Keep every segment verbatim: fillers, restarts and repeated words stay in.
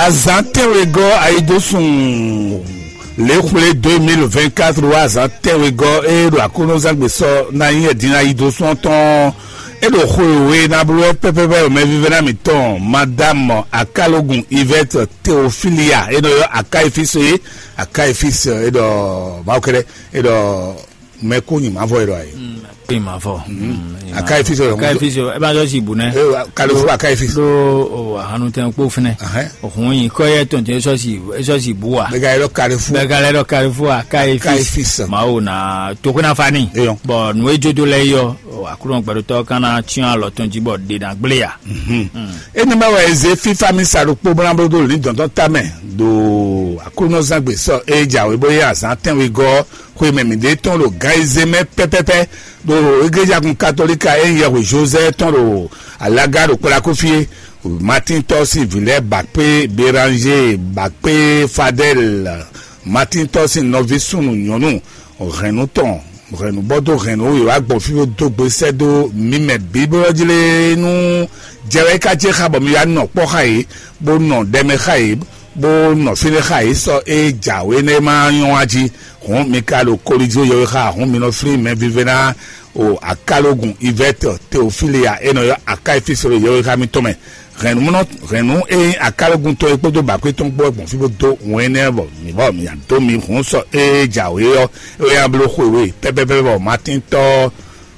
Zan tɛ́nwegɔ́ ayidosùn lě xwlé deux mille vingt-quatre wá zan tɛ́nwegɔ́ e ɖo Aklúnɔzán gbe sɔ ná nyí ɛdin ayidosùn tɔn. E ɖo xwe wěwe ná bló wɛ pɛ́pɛ́pɛ́ ɖo mɛvívɛ́ná mǐtɔn Madame Akalogun Yvette Théophilia e nɔ ylɔ́ Akayi fí so é. Akayi fí so é ɖɔ Mawu kɛ́ɖɛ́ é ɖɔ mɛ kó nyi mavɔ é ɖɔ ayi. Kó nyi mavɔ. Akayi fí so é ɖɔ Akayi fí so é bá sɔ si bu nɛ. Kalifu Akayi fí so. Ɖo ahanu tɛn kpó fɛnɛ. Òhun yìí kɔ yɛ tɔn tɛ sɔ si é sɔ si bu wa. Bɛga yɛ ɖɔ Kalifu. Bɛga yɛ ɖɔ Kalifu Akayi fí so. Mawu na tokunafani. Bɔn nù é jódó lɛ yɔ. Aklúnɔ gbɛɖotɔ́ kan ná cyɔ́n alɔ tɔn jí bɔ ɖe ná gblé ya. Énɛ́ mɛ wɛ è zě fífá mì sa ɖokpó bó ná bló dó lǐndɔ̌n tɔn tamɛ ɖo Aklúnɔzán gbe sɔ é jǎwe bó yí azǎn tɛ́nwegɔ́ xwe mɛ mǐɖée tɔn ɖo gan e zé mɛ pɛ́pɛ́pɛ́ ɖo egléjagun katolíka e nyí yɛhwe Jozɛ́ tɔn ɖo alaga ɖo Kplakúfí é. Matín tɔ́ sín vǐ lɛ́ɛ ba kpé Beranzée, ba kpé Fadɛ́l, Matín tɔ́ sín nɔví súnnu nyɔ̌nu hɛ̌nnu tɔn hɛ̌nnu bɔ dó hɛ̌nnu wǒ wá gbɔn fí bó dó gbe sɛ́ dó mǐ mɛ bǐ bó ɔ́ jlé nú jɛ wɛ é ka jɛ xá bɔ mi wá nɔ kpɔ́ xá yě, bó nɔ ɖɛ mɛ xá yě, bó nɔ fínɛ́ xá yě sɔ́ é jǎwe nɛ́ ma nyɔ́ wá jí. Hǔn mi ka ɖo kolizo yɔwe xá hǔn mi nɔ flín mɛ vívɛ́ná o Akalogun Ivɛ́tɔ Teofília e nɔ ylɔ́ Akáyifísi ɖo yɔwe xá mitɔn mɛ. Hɛ̌nnumɔnɔ hɛ̌nnu e nyí akálɔ́gun tɔn é kpódó bǎkpé tɔn kpó wɛ gbɔn fí bó dó wɛn énɛ́ bɔ mǐ bɔ mǐ dó mi hǔn sɔ ée jǎwe ɔ́, é wɛ nya bló xwe we pɛ́pɛ́pɛ́ bɔ Matín tɔ́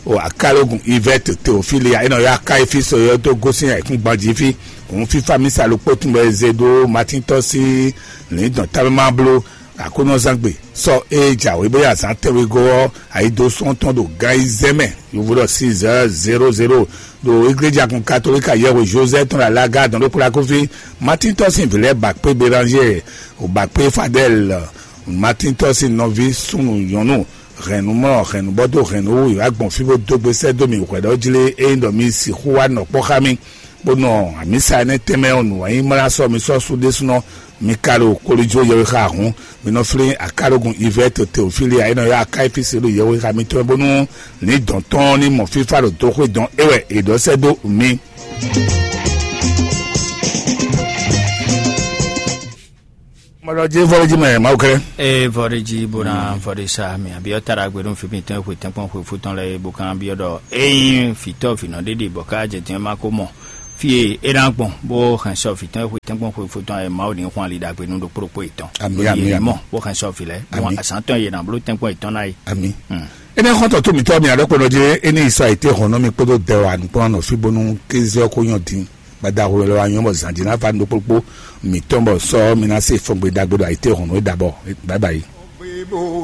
o akálɔ́gun Ivɛ́t Teofília é nɔ ylɔ́ Akáyifísi ɔ́ dó gosín ayǐkúngban jí fí. Hǔn fífá mísa ɖokpó tún bɔ è zé ɖó Matín tɔ́ sín lǐndɔ̌n támɛ ma bló Aklúnɔzán gbe sɔ ée jǎwe bó yi azǎn tɛ́nwegɔ́ ɔ́, ayǐdósɔ́ tɔn ɖo gan ayizɛ́n mɛ, yovo ɖɔ six heures zéro zéro, ɖo igleja kun katolika yɛhwe Joseph tɔn ɖo alaga dɔn ɖó kplakúfí. Matín tɔ́ sín vǐ lɛ́ɛ ba kpé Beranzée, ba kpé Fadɛ́l, Matín tɔ́ sín nɔví súnnu nyɔ̌nu hɛ̌nnumɔ hɛ̌nnubɔ́ dó hɛ̌nnu wú yi wá gbɔn fí bó dó gbe sɛ́ dó mì hwɛ̌ɖɔ́ jlé ényí ɖɔ mi sixú wá nɔ kpɔ́ xá mì. Bó nɔ amǐsa énɛ́ tɛnmɛ ɔ́ nǔ wá nyí mlá sɔ́ mi sɔ́ sú ɖésúnɔ, mi ka ɖo kolijo yɛwe xá hǔn, mi nɔ flín akálógun Ivɛ́to Teofília e nɔ ylɔ́ Akáyifísi ɖo yɛwe xá mitɔn bónú ní dɔn tɔn ní mɔ fífá ɖo dó xwé dɔn é wɛ è ɖɔ sɛ́ dó mi. Mɔɖɔ jɛ vɔlɛ jí mɛ Mawu kɛlɛ. Ee vɔɖe jí bó ná vɔɖe sa mi abiɔ ta ɖagbe ɖo fi mitɔn xwe tɛnkpɔn xwe fútɔn lɛ bó kan biɔ ɖɔ eyin fitɔ finɔ ɖeɖe bɔ ká jɛ jɛn ma ko mɔ fie e ná gbɔn bó hɛn sɔ fitɔn xwe tɛnkpɔn xwe fútɔn ɛ Mawu ní xwan ali ɖagbe nú ɖokpó ɖokpó yětɔn. Ami ami ami. Mɔ bó hɛn sɔ fi lɛ bó azán tɔn yě ná bló tɛnkpɔn yětɔn ná yi. Ami. Ene xɔntɔ tó mitɔ mi aɖɔ kpɔnɔ dzi ene isa ite hɔn nɔ mi kpódó dɛ wa nukpɔnɔ nɔ fi bónú kézé ɔkó nyɔ dín. Gbadaxo lɔ wa nyɔ bɔ zan dzi ná va nukpokpo mitɔn bɔ sɔ mi ná se fɔgbe dagbe ɖo ayite hɔn nɔ e dabɔ. Bye bye.